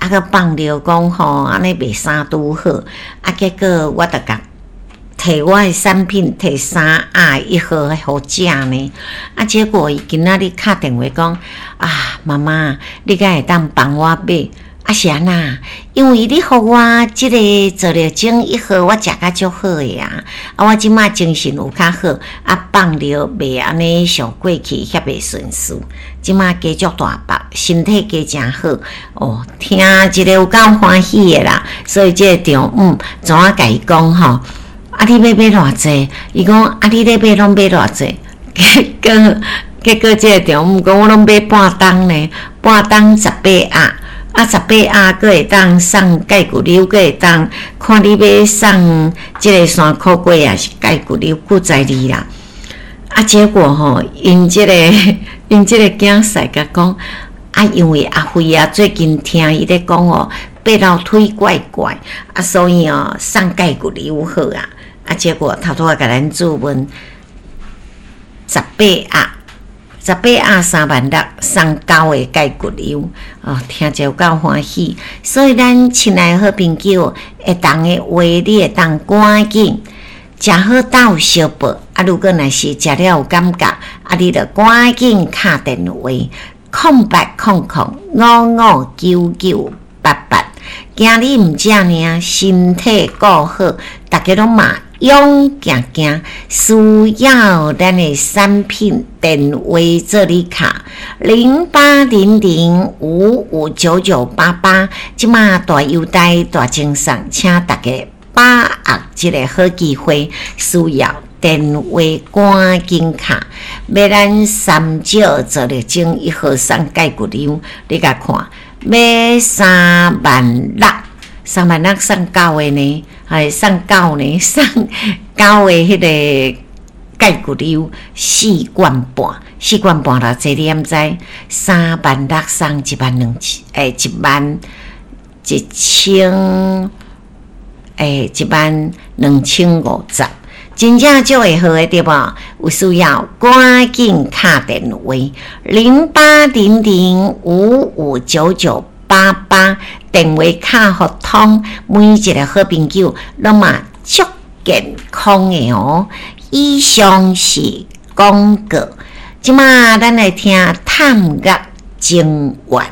啊，閣放尿講吼，按呢袂啥拄好，啊，結果我就共提我的產品提三盒一盒予食呢，啊，結果伊今仔日敲電話講，啊，媽媽，你敢會當幫我買？啊是按怎？因為你予我這個做療精一盒，我食甲足好的啊！啊，我這馬精神有較好，啊，放尿袂按呢像過去遐袂順遂，這馬加足大腹，身體加誠好哦，聽一个有夠歡喜的啦！所以這個丈母怎啊共伊講吼？啊，你欲買偌濟？伊講啊，你咧買攏買偌濟？結果結果這個丈母講，我攏買半擔呢，半擔十八盒。啊，十八盒閣會當送蓋骨溜，閣會當看你欲送這个山苦瓜抑是蓋骨溜，閣在你啦。啊，結果吼，𪜶這个𪜶這個囝婿共講，啊，因為阿輝啊，最近聽伊咧講哦，爬樓梯怪怪，啊，所以哦，送蓋骨溜好啊。啊，結果頭拄仔共咱注問十八盒。十八盒3萬6，送九个蓋骨溜哦，聽者有夠歡喜。所以咱親愛的好朋友，會當的話，你會當趕緊食好斗相報。啊，如果若是食了有感覺，啊，你就趕緊敲電話，0800559988。今日毋止爾，身體顧好，逐家攏嘛勇行行，需要咱的產品電話做你敲0800559988，這馬大優待大贈送，請大家把握這个好機會，需要電話趕緊敲，欲咱三少做力精一號送蓋骨溜，你共看，欲3萬6，3萬6送九个呢？還送九呢？送九个彼个蓋骨溜四罐半，四罐半偌濟？你敢知？3萬6送1萬2千，欸，1萬1千，欸，1萬2050。真正足會好的對無？有需要趕緊敲電話0800559988，電話敲予通，每一个好朋友攏嘛足健康的哦。以上是廣告，這馬咱來聽探樂情緣。